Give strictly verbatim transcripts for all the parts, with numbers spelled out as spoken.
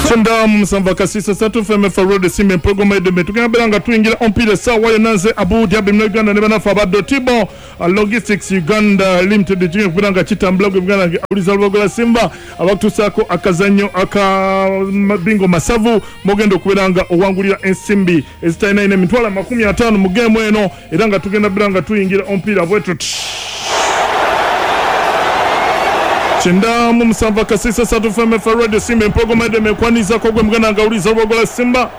Kyenda musanvu akasisa satu F M F Road Simba Empologoma Edembe. Tugenda beera nga tuyingira omupiira essaawa yonna. Nze Abu Diaby mu Uganda ne bannaffe aba Dotibo Logistics Uganda Limited. Tugenda kubeera nga kitambula gwe Uganda awuliza Lubogola Simba abakutuusaako akazannyo aka bingo masavu, mugenda okubeera nga owangulira ensimbi ezitalina ina emitwalo amakumi ataano mu geemu eno, era nga tugenda beera nga tuyingira omupiira bwetu. Kyenda mu musanvu akasisa satu F M F Radio Simba Empologoma Edembe ekwanirizaako gwe muganda nga awuliza Lubogola Simba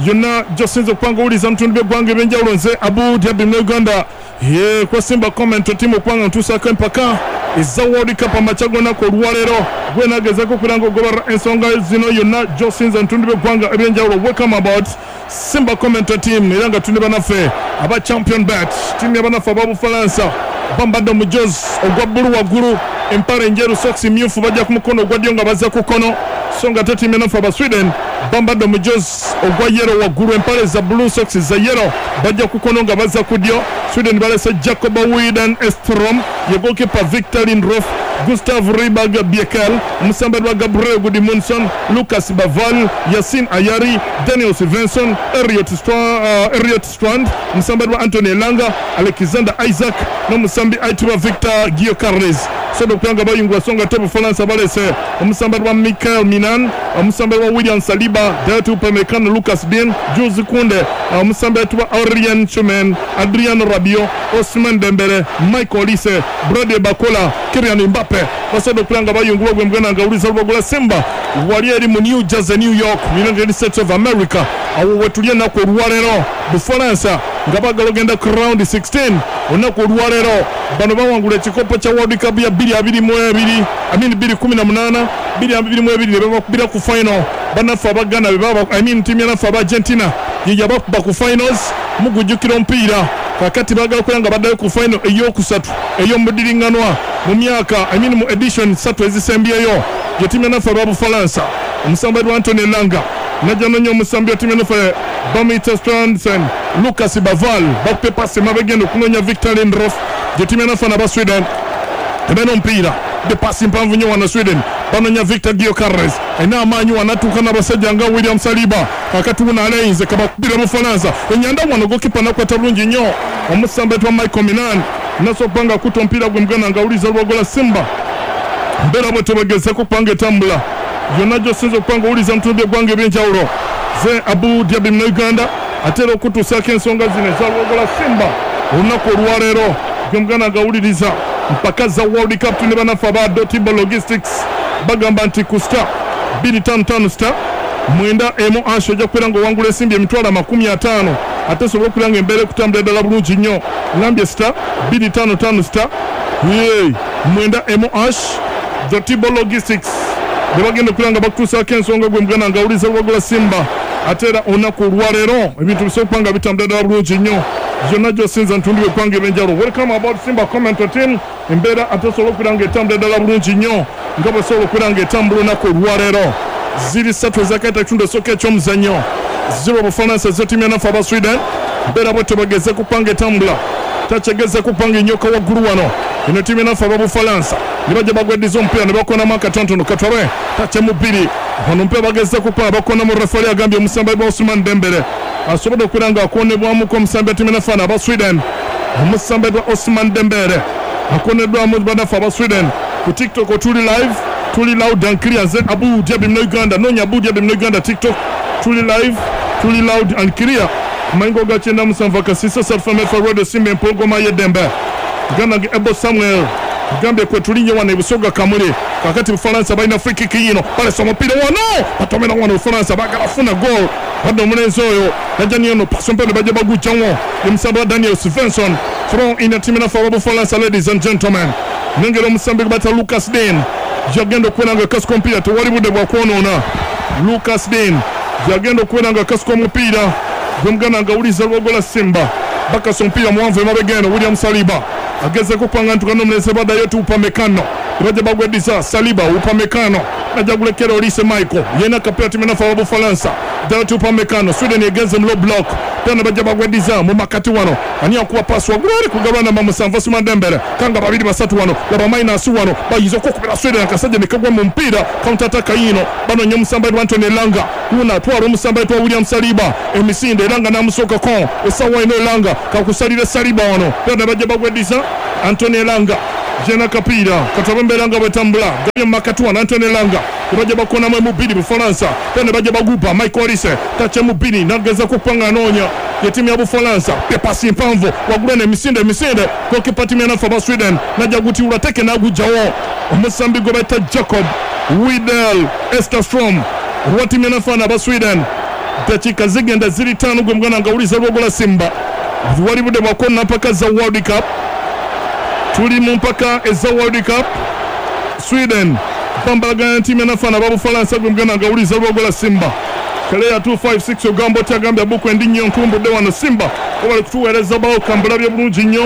yonna gy'osinza okuba nga owuliza mu bitundu by'eggwanga eby'enjawulo. Nze Abu Diaby mu Uganda ye kwa Simba comment team okuba nga ntuusaako empaka eza World Cup amakya g'olunaku olwaleero. Gwe naagezaako okubeera nga ogoberera ensonga zino yonna gy'osinza mu bitundu by'eggwanga eby'enjawulo. Welcome about Simba comment team, era nga tuli bannaffe aba Champion Bet, ttiimu y'abannaffe aba Bufalansa. Bambadde omujozi ogwa bbulu waggulu, empale enjeru, sokisi myufu, bajja ku mukono ogwa ddyo nga bazza ku kkono. So nga ate ttiimu y'abannaffe aba Sweden bambadde omujozi ogwa yero waggulu, empale za bbulu, sokisi za yero, bajja ku kkono nga bazza ku ddyo. Sweden balese Jacob Widen Estrom, ye goalkeeper Victor Lindroth, Gustav Ribag Biekel, omusambi wa Gabriel Gudmundsson, Lucas Baval, Yasin Ayari, Daniel Svensson, Elliot Strand, uh, Elliot Strand, omusambi wa Anthony Elanga, Alexander Isaac n'omusambi ayitibwa Victor Gyokeres. Sodo okubanga bayungula. So nga ate Bufalansa balese omusambi wa Michael Minan, omusambi wa William Saliba, Dayot Upamecano, Lucas Digne, Jules Kounde, omusambi ayitibwa Aurelien Tchouameni, Adrian Rabiot, Ousmane Dembele, Michael Olise, Bradley Barcola, Kylian Mbappe. Basobodde okubeera nga bayungulwa. Gwe muganda nga awuliza Lubogola Simba wali eri mu New Jersey, New York, United States of America, awo wetuli ennaku olwaleero. Bufalansa nga baagala ogenda ku round sixteen olunaku olwaleero. Bano bawangula ekikopo kya World Cup ya bbiri abiri mu ebiri, I mean bbiri kumi na munaana, bbiri abiri mu ebiri, ne babakubira ku final bannaffe abagana be baba, I mean ttiimu yanaffe aba Argentina ye yabakuba ku finals. Mugujjukira omupiira. Kakati baagala kubeera nga baddayo ku final eyokusatu ey'omudiriŋŋanwa mu myaka, I mean mu edition ssatu ezisembyeyo. Ye ttiimu yanaffe aba Bufalansa, omusambi wa Anthony Elanga najja nonya omusambi wa ttiimu yanaffe bamuyita Strandsen, Lucas Baval, bakupye pasi mabegenda okunoonya Victor Lindroth. Gye ttiimu yanaffe naba Sweden tebeera omupiira de pasi mpanvu nnyo wano. Sweden banonya Victor Gyokeres, alina amaanyi wano, atuuka n'abasajja nga William Saliba. Kakati wuno aleyinze kabakubira Bufalansa enyanda wano, gokipa nakwata bulungi nnyo omusambi twa Michael Minan nasobola okuba nga akuta omupiira. Gwe muganda nga awuliza Lwogola Simba, mbeera bwe tebagezeko okuba nga etambula yonna gy'osinza okuba nga owuliza mu bitundu by'eggwanga eby'enjawulo. Ze Abu Diaby mu Uganda ate era okutuusaako ensonga zino eza Lwogola Simba olunaku olwaleero. Gwe muganda nga awuliriza mpaka za World Cup, tune bannaffe aba Dotibo Logistics bagamba nti ku star bbiri ttaano ttaano star mwenda emu hash ojja kubeera nga owangula ensimbi emitwalo amakumi ataano, ate osobola okubeera nga embeera ekutambula ddala bulungi nnyo. Ngambye star bbiri ttaano ttaano star mwenda emu hash. Dotibo Logistics be bagenda okubeera nga bakutuusaako ensonga. Gwe muganda nga awuliza Lwagola Simba, ate era olunaku olwaleero ebintu bisobola okuba nga bitambula ddala bulungi nnyo yonna gy'osinza ntundu eggwanga ebyenjawulo. Welcome about Simba comment team. Embeera ate osobola okubeera nga etambula ddala bulungi nnyo nga bwesobola okubeera nga etambula olunaku olwaleero. Ziri ssatu ezakaita ekitundu esooka eky'omuzannyo, zero Bufalansa, zo ttiimu yanaffe aba Sweden. Mbeera bwe tebageze kupanga etambula takyegeze kupanga enyoka waggulu wano. Eno ttiimu yanaffe aba Bufalansa ne bajja bagweddiza omupiira ne bakonamu akatonotono katwabe takyemu bbiri wano. Omupiira bageze kupanga bakonamu, refali agambye omusambi wa Ousmane Dembele asobodde okubeera nga akonebwamuko. Omusambi wa ttiimu yanaffe aba Sweden, omusambi wa Ousmane Dembele akoneddwamu bannaffe aba Sweden. Ku TikTok tuli live, tuli loud and clear. Nze Abu Diaby mu Uganda, noonya Abu Diaby mu Uganda TikTok, tuli live, tuli loud and clear. Kumayingo ga kyenda musanvu akasisa salfamfa Radio Simba Empologoma y'eddembe. Ganda ge Ebo Samuel gambye kwe tulinye wano ebusoga Kamuli. Kakati Bufalansa balina free kick yino, balesa omupiira wano, batomera wano. Bufalansa bagala funa goal, badde omulenzi oyo najja niyono pasi omupiira bajja bagujjawo omusambi wa Daniel Svensson. Throw in tiimu naffe aba Bufalansa. Ladies and gentlemen, nengera omusambi gwe bata Lucas Digne yagenda okubeera nga akasuka omupiira, tewali budde bwa kwonoona. Lucas Digne yagenda okubeera nga akasuka omupiira. Gwe muganda nga awuliza Lwogola Simba, bakasa omupiira muwanvu emabega eno. William Saliba agezeko kupanga ntuka n'omulenzi baddayo ti Upamecano, bajja bagweddiza Saliba, Upamecano Najja gulekera Olise Michael yena kapira timu nafa wa Bufalansa Dayot Upamecano Sweden egenze mu low block tena bajja bagwediza mu makati wano ani akuwa pass wa gulari kugabana na musanvu Ousmane Dembele kanga babiri basatu wano laba minus wano bayizo kokubira Sweden akasajja nekagwa mu mpira counter attack yino bano nyo musamba Anthony Elanga una twaro musamba twa William Saliba emisinde Elanga namusoka kon esawa ino Elanga kakusalira Saliba wano tena bajja bagwediza Anthony Elanga jena kapira katabembe Elanga bwetambula gabye makati wano Anthony Elanga baje bakona mwe mubiri Bufalansa tena baje bagupa Michael Olise tache mubiri nageza kupanga nonya ya timu ya Bufalansa pepasi mpanvo wagulene misinde misinde goalkeeper timu ya nafa Sweden najja guti ulateke nagujawo omusambi gwe bayita Jacob Widel Esterstrom wa timu ya nafa na Sweden dakika zigenda ziri tano gwe mwana ngawuliza lwogola Simba wali bude bakona mpaka za World Cup tuli mu mpaka eza World Cup Sweden pambagana timu ya nafa na Bufalansa gwe mwana ngawuliza lwogola Simba Kalea two five six ogambo tagambya buku endi nnyo ntumbudde wano Simba obali kutuweereza bawo kambulabye bulungi nnyo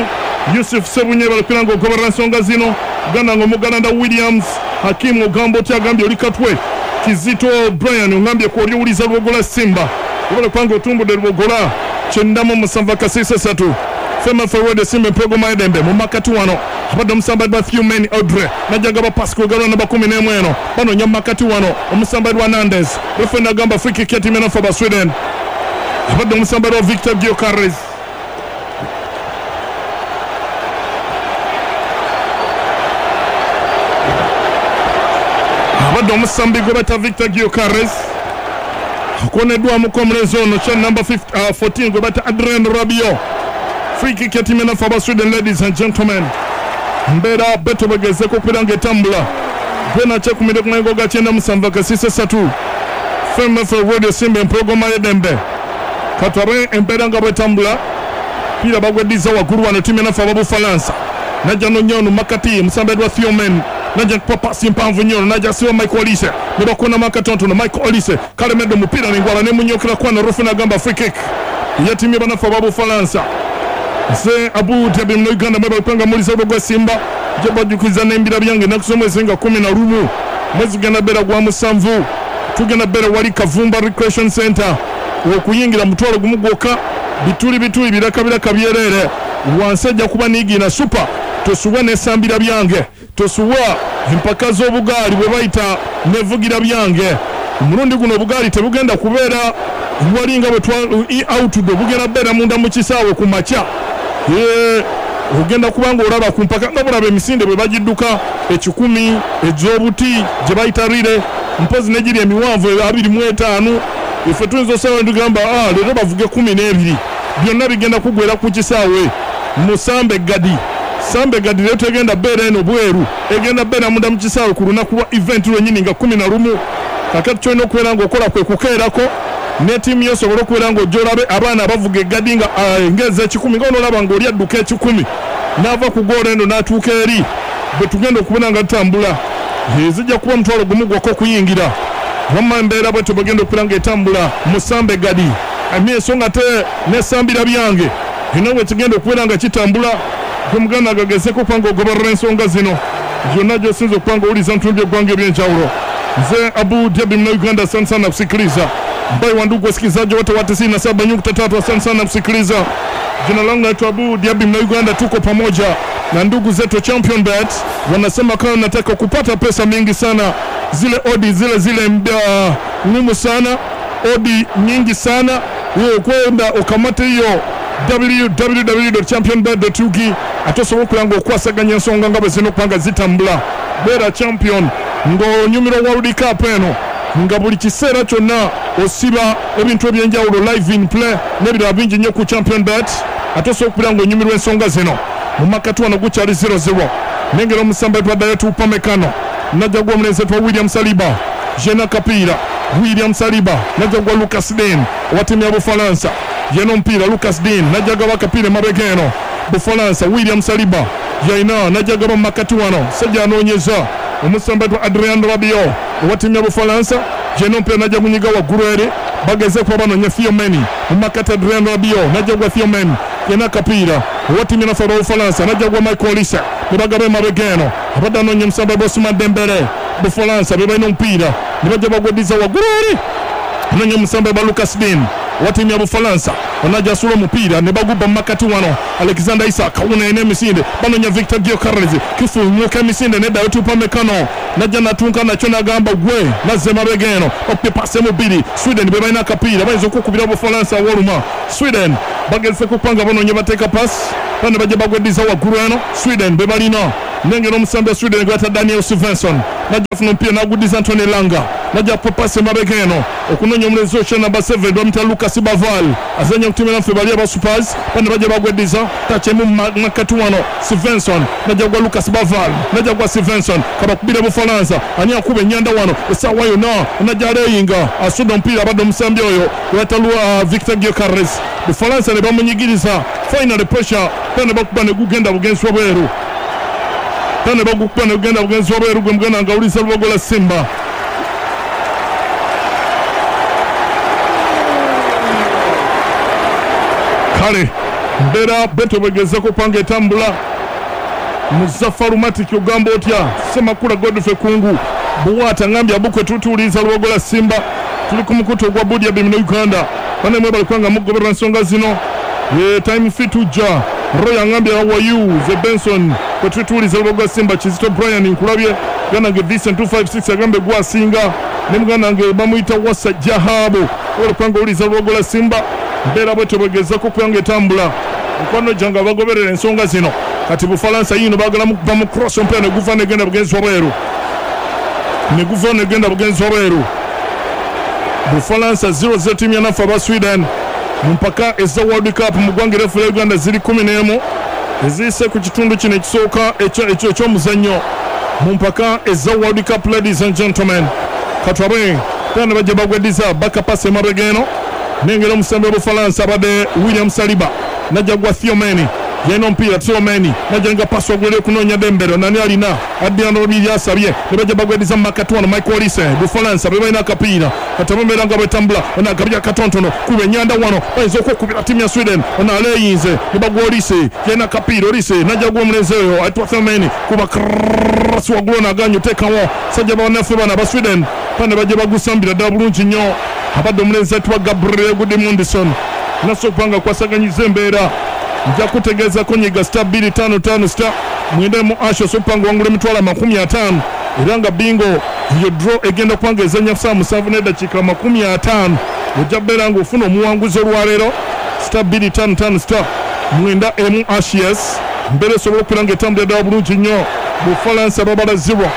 Yusuf Sebunye bali kugira ngo ogoberera ensonga zino Uganda ngo Muganda Williams Hakimu ogambo tagambye oli katwe Kizito Brian ongambye ku oliwuliza lwogola Simba obali kubanga otumbudde lwogola kyenda mu musanvu kasisa satu Fema forward Simba mpogo maedembe mu makati wano abadde omusamba gwa Thiomen Audrey najja gaba pass kugalwa namba kumi n'emu eno bano nya makati wano omusamba gwa Hernandez refa agamba free kick ya timu ya Sweden abadde omusamba gwa Victor Gyökeres abadde omusambi gwe bata Victor Gyökeres akoneddwamu omulenzi ono kya number fourteen gwe bata Adrien Rabiot. Free kick ya timu ya Sweden, ladies and gentlemen. Mbeera beto bagezeko okubeera ng'etambula gwena kyekumire ku mayengo ga kyenda musanvu akasise ssatu F M F Radio Simba empologoma y'eddembe katwabe embeera nga bwetambula piira bagweddiza waggulu wano timu enafe ababufalansa najja nonyono makati musambe gwa Thiomen najja kupa pasi mpanvu nnyo najja siwa Michael Olise ne bakona makatono Michael Olise kalemedde omupiira nengwala nemunyokera kwana refa n'agamba free kick ya timu y'abanafe ababufalansa. Nze Abu Dhabi mno Uganda mwebale kupanga muliza gwa Simba jabajjukiza n'embira byange ennaku z'omwezi nga kumi na lumu mwezi gugenda beera gwa musanvu tugenda beera wali Kavumba Recreation Center okuyingira mutwalo gumu gwokka bituli bituli biraka biraka byereere wansi ajja kuba niigina super tosuwa n'esambira byange tosuwa empaka z'obugaali bwe bayita nevugira byange omulundi guno obugaali tebugenda kubeera walinga bwe twa outdo bugenda beera munda mu kisaawe ku makya. Ye ogenda kubanga olaba ku mpaka nga bulaba emisinde bwe bagidduka ekikumi ez'obuti gye bayita rile mpozi negiri emiwanvu abiri mu etaano ife tuyinza osaba tugamba ah leero bavuge kumi n'ebiri byonna bigenda kugwera ku kisaawe musambe gadi sambe gadi leero tegenda beera eno bweru egenda beera munda mu kisaawe ku lunaku lwa event lwennyini nga kumi na lumu kakati kyolina okubeera ng'okola kwe kukeerako ne ttiimu yo osobola okubeera ng'ojja olabe abaana abavuga eggadi nga ngeza ekikumi nga onoolaba ng'oli adduka ekikumi n'ava ku goolo eno n'atuuka eri bwe tugenda okubeera nga tutambula zijja kuba omutwalo gumu gwokka okuyingira wamma embeera bwetyo bwegenda okubeera ng'etambula musambe gadi emyeso nga te nesambira byange eno bwe kigenda okubeera nga kitambula gwe muganda gagezeko okuba ng'ogoberera ensonga zino gyonna gy'osinza okuba ng'owuliza mu bitundu by'eggwanga eby'enjawulo. Nze Abu Dhabi mna Uganda, asante sana kusikiliza. Mbai wa ndugu wasikilizaji wote wa tisini na saba nukta tatu, asante sana kusikiliza. Jina langu naitwa Abu Dhabi mna Uganda, tuko pamoja na ndugu zetu Champion Bet. Wanasema kama nataka kupata pesa mingi sana, zile odi zile zile ngumu sana, odi nyingi sana, wewe kwenda ukamate hiyo w w w dot champion bet dot u g atosobola okulanga okwasaganya ensonga nga bwe zirina okubanga zitambula. Beera champion ng'onyumirwa World Cup eno nga buli kiseera kyonna osiba ebintu ebyenjawulo live in play n'ebirala bingi nnyo ku Champion Bet ate osobola okubeera ng'onyumirwa ensonga zino. Mu makati wano gukyali zero zero nengera omusamba twaddayo Upamecano najja gwa omulenzi twa William Saliba jena kapiira William Saliba najja gwa Lucas Dean owa ttiimu ya Bufalansa yena omupiira Lucas Dean najja gaba akapiira emabega eno Bufalansa William Saliba yaina najja gaba mu makati wano sajja anoonyeza omusamba twa Adrien Rabiot owa ttiimu ya Bufalansa jena omupiira najja gunyiga waggulu eri bageze kuba banoonya Thiomen mu makati Adrien Rabiot najja gwa Thiomen yena akapiira owa ttiimu ya Bufalansa najja gwa Michael Olise ne bagaba emabega eno abadde anoonya omusamba gwa Ousmane Dembele Bufalansa be balina omupiira ne bajja bagweddiza waggulu eri anoonya omusambe ba Lucas Dean wa ttiimu ya Bufalansa onajja asula omupiira ne bagubba mu makati wano Alexander Isak awuna ena emisinde banoonya Victor Gyökeres kifuumuuka emisinde neddayo tupa mekano najja natunka nakyo nagamba gwe nazze mabega eno okupye pasi emu bbiri Sweden be balina akapiira bayinza okukubira Bufalansa woluma Sweden bagezeko okupanga banoonya bateeka pasi bano bajja bagweddiza waggulu eno Sweden be balina nengera omusambi wa Sweden gwata Daniel Svensson najja afuna omupiira n'aguddiza Anthony Langa najja popasi emabega eno okunoonya omulenzi okya namba seven bamuyita Lucas Baval azannya ku ttiimu naffe bali aba Spurs bano bajja bagweddiza tachemu makati wano Svensson najja gwa Lucas Baval najja gwa Svensson kabakubira Bufalansa ani akuba ennyanda wano essaawa yonna najja aleyinga asudde omupiira abadde omusambi oyo gwata Victor Gyökeres Bufalansa ne bamunyigiriza final pressure bano bakuba ne gugenda bugenzi wabweru tane bagukuba ne gugenda bugenzi wabweru gwe muganda nga awuliza Lubogola Simba kale mbeera beto bwegezeko panga etambula Muzafaru Matiki ogamba otya Ssemakula Godfrey Kungu Buwata ngambye abukwe tutuuliza Lubogola Simba tuli ku mukutu ogwa Budia Bimino Uganda bane mwe balikwanga mugoberera nsonga zino ye time fit ujja Roy ngambye how are you The Benson kwe tutuuliza Lubogola Simba Kizito Brian nkulabye gana nge Vincent two five six agambe gwasinga ne muganda nge bamuyita Wasa Jahabo olikwanga uliza Lubogola Simba mbeera bwetyo bwegezako okuyanga etambula mukwano gyange abagoberera ensonga zino kati Bufalansa yino baagala mukuba mu cross omupiira ne guva negenda bugenzi wabweru ne guva negenda bugenzi wabweru Bufalansa zero zero ttiimu ya naffe aba Sweden mu mpaka eza World Cup mu ggwanga eryefu lya Uganda ziri kumi n'emu eziyise ku kitundu kino ekisooka eky'omuzannyo mu mpaka eza World Cup ladies and gentlemen katwabe tena bajja bagweddiza bakapasa emabega eno nengera omusambi wa Bufalansa abadde William Saliba najja gwa Thiomeni yena omupiira Thiomeni najja nga pasi waggulu eri okunoonya Dembele nani alina Adrian Rabiot asabye ne bajja bagweddiza mu makati wano Michael Olise Bufalansa be balina akapiira kati ababeera nga bwetambula ono agabya katonotono kuba ennyanda wano bayinza okwekubira ttiimu ya Sweden ono aleeyinze ne bagwa Olise yena akapiira Olise najja gwa omulenzi oyo ayitibwa Thiomeni kuba krasi waggulu ono aganye oteekawo sajja bannaffe bano aba Sweden bano bajja bagusambira ddala bulungi nnyo abadde omulenzi ayitibwa Gabriel Gudmundsson naso okubanga kwasaganyiza embeera nja kutegeezako nyiga star bbiri ttaano ttaano star mwenda mu asho sopanga wangula emitwalo amakumi ataano era nga bingo iyo draw egenda kubanga ezannya saa musanvu n'eddakiika makumi ataano ojja kubeera nga ofuna omuwanguzi olwaleero star bbiri ttaano ttaano star mwenda emu ashes mbeera esobola okubeera nga etambulira ddala bulungi nnyo Bufalansa babala zero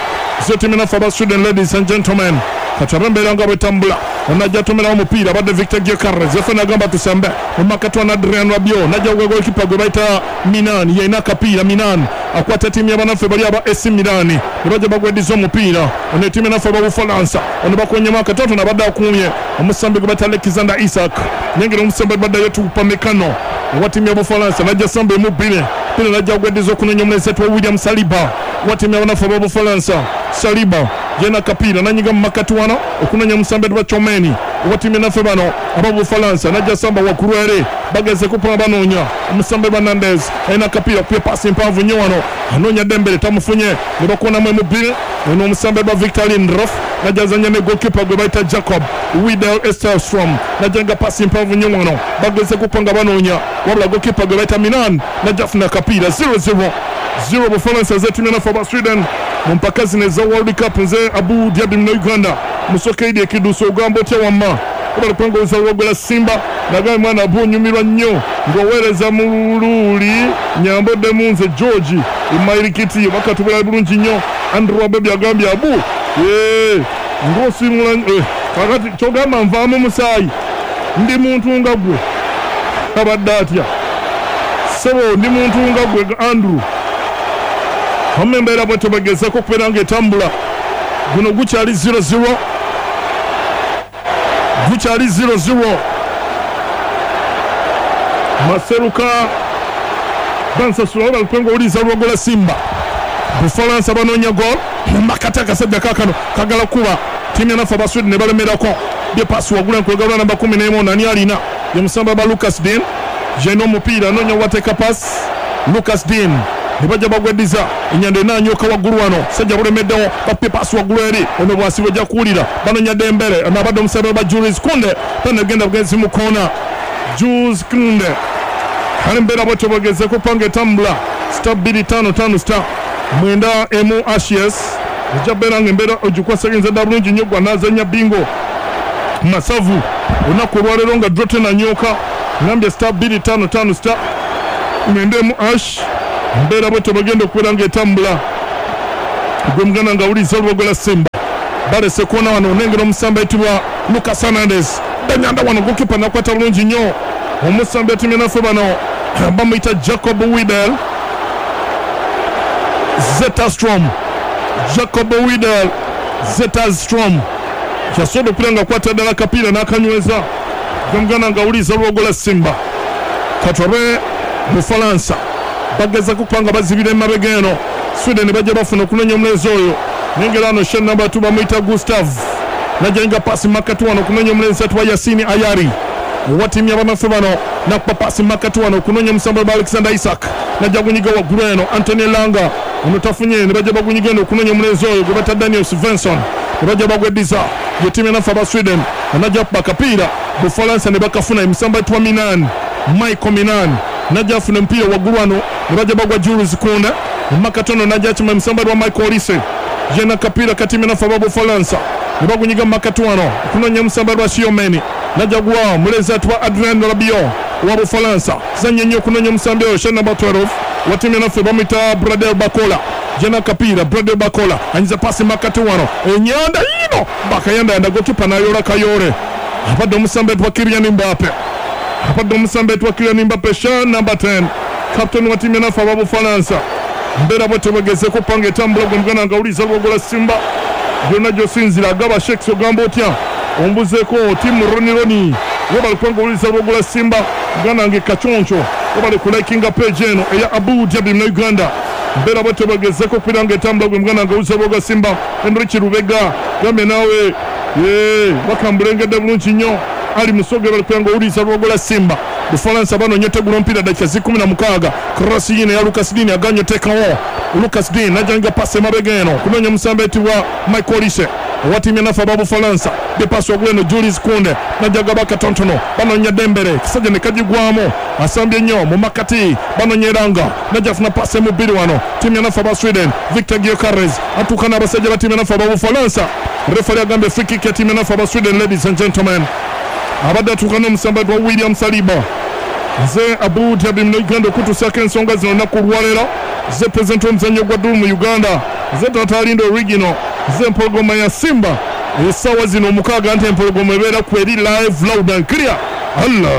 zo ttiimu naffe aba Sweden ladies and gentlemen kati abembeera nga bwetambula onajja atomerawo omupiira abadde Victor Gyökeres efe nagamba tusembe omakati wa Adrian Rabiot najja gwe golikipa gwe bayita Milan yalina akapiira Milan akwata ttiimu y'abanaffe bali aba A C Milan ne bajja bagweddiza omupiira ono ettiimu naffe aba Bufalansa ono bakonyemu akatonotono abadde akuumye omusambi gwe bayita Alexander Isak nengera omusambi baddayo Upamecano owa ttiimu ya Bufalansa najja samba emu bbiri mpira najja agweddiza okunoonya omulenzi ayitibwa William Saliba owa ttiimu y'abanaffe aba Bufalansa Saliba yena akapiira nanyiga mu makati wano okunoonya omusambi ayitibwa Tchouameni owa ttiimu naffe bano aba Bufalansa najja samba waggulu eri bageze kupanga banoonya omusambi Hernandez alina akapiira kupya pasi mpanvu nnyo wano anoonya Dembele tamufunye ne bakonamu emu bbiri ono omusambi ayitibwa Victor Lindelof najja azannya ne goalkeeper gwe bayita Jacob Widel Estelstrom najja nga pasi mpanvu nnyo wano bageze kupanga banoonya wabula goalkeeper gwe bayita Milan najja afuna akapiira zero zero zero Bufalansa zetumye naffe aba Sweden mu mpaka zino eza World Cup nze Abu Dhabi muna Uganda musoke idi ekidusa ogamba otya wamma obalipanga Lubogola Simba nagaye mwana abunyumirwa nnyo ng'oweereza mu luuli nyamboddemu nze George Imairikiti bakatubula bulungi nnyo Andrew Abebi agambye abu ee ng'osimula eh, kakati kyogamba nvaamu musaayi ndi muntu nga gwe abadde atya ssebo ndi muntu nga gwe Andrew wamma embeera bwetyo bagezeko okubeera ng'etambula guno gukyali zero zero gukyali zero zero Maseruka bansasula obalukwenga owuliza Lubogola Simba Bufalansa banoonya goal makati akasajja kaakano kagala kuba ttiimu yanaffe aba Sweden ne balemerako bye pasi waggulu enkwegabula namba kumi n'emu nani alina ye musamba ba Lucas Dean yalina omupiira anoonya wateeka pasi Lucas Dean Ne bajja bagweddiza enyanda enanyoka waggulu wano sajja bulemeddewo bapye paasi waggulu eri ono bwasi bwejja kuwulira banonya Dembele ono abadde omusabe ba Jules Kounde tanagenda bugenzi mu koona Jules Kounde kale embeera bwetyo bwegezeko panga etambula star bbiri ttaano ttaano star mwenda emu ashes ejja bbeera nga embeera ogikwasagenza dda bulungi nnyo gwa naazannya bingo masavu olunaku olwaleero nga draw tenanyoka ngambye star bbiri ttaano ttaano star mwenda emu ash mbeera bwetyo bagenda okubeera nga etambula gwe muganda nga awuliza olubogola Simba balese koona wano onengera omusambi ayitibwa Lucas Hernandez danyanda wano gokipa nakwata bulungi nnyo omusambi atimye naffe bano bamuyita Jacob Widel Zetterstrom Jacob Widel Zetterstrom yasobola okubeera nga akwata ddala akapiira n'akanyweza gwe muganda nga awuliza olubogola Simba katwabe Bufalansa bagezako kubanga bazibira emabega eno Sweden bajja bafuna okunoonya omulenzi oyo nengera ano shen namba two bamuyita Gustav najenga pasi makati wano okunoonya omulenzi atwa Yasini Ayari owa ttiimu y'abamaffe bano nakuba pasi makati wano okunoonya omusambo ba Alexander Isak najja gunyiga waggulu eno Anthony Langa ono tafunye ne bajja bagunyiga eno okunoonya omulenzi oyo gwe bata Daniel Svensson ne bajja bagweddiza ye ttiimu yanaffe aba Sweden anajja kuba akapiira Bufalansa ne bakafuna emisambo etwa Minan Michael Minan najja afuna omupiira waggulu wano ne bajja bagwa Jules Kounde makatono najja akima emisambo lwa Michael Olise yena kapiira katimu naffe aba Bufalansa ne bagunyiga makati wano okunoonya omusambo lwa Shiomeni najja gwa mulezi atwa Adrien Rabiot wa Bufalansa zanye nnyo okunoonya omusambi oyo sha namba twelve wa timu yanaffe bamuyita Bradel Bakola jena kapiira Bradel Bakola anyiza pasi makati wano enyanda yino bakayandayanda gokipa nayola kayore abadde omusambi atwa Kylian Mbappe abadde omusambi atwa Kylian Mbappe sha namba ten captain wa timu yanaffe aba Bufalansa mbeera bwetyo bagezeko panga etambula gwe muganda nga awuliza lwogola Simba gyonna gy'osinzira agaba Shakes ogamba otya ombuzeeko tiimu Roni Roni webale kubanga owuliza lwogola Simba muganda wange Kaconco webale kulikinga page eno eya Abu Dhabi na Uganda mbeera bwetyo bagezeko okubeera nga etambula gwe muganda nga owuliza lwogola Simba Henrichi Lubega gambe naawe ye bakambulengedde bulungi nnyo Ali Musoge bali kubanga owuliza lwogola Simba Bufalansa banoonya otegula omupiira dakika zikumi na mukaaga cross yino ya Lucas Digne aganye oteekawo Lucas Digne najja pasi emabega eno kunoonya omusambi ayitibwa Michael Olise owa ttiimu yanaffe aba Bufalansa bepasi waggulu eno Jules Kounde najja gaba katonotono banoonya Dembele kisajja ne kagigwamu asambye nnyo mu makati banoonya Elanga najja afuna pasi emu bbiri wano ttiimu yanaffe aba Sweden Victor Gyökeres atuuka n'abasajja ba ttiimu yanaffe aba Bufalansa refari agambye free kick ya ttiimu yanaffe aba Sweden. Ladies and gentlemen, abadde atuuka n'omusambi wa William Saliba nze Abu Dhabi mu Uganda okutuusaako ensonga zino olunaku olwaleero nze pulezidenti w'omuzannyo gwa ddulu mu Uganda nze Tata Lindo Original nze empologoma ya Simba essaawa zino omukaaga nti empologoma ebeera ku eri live loud and clear. Allah.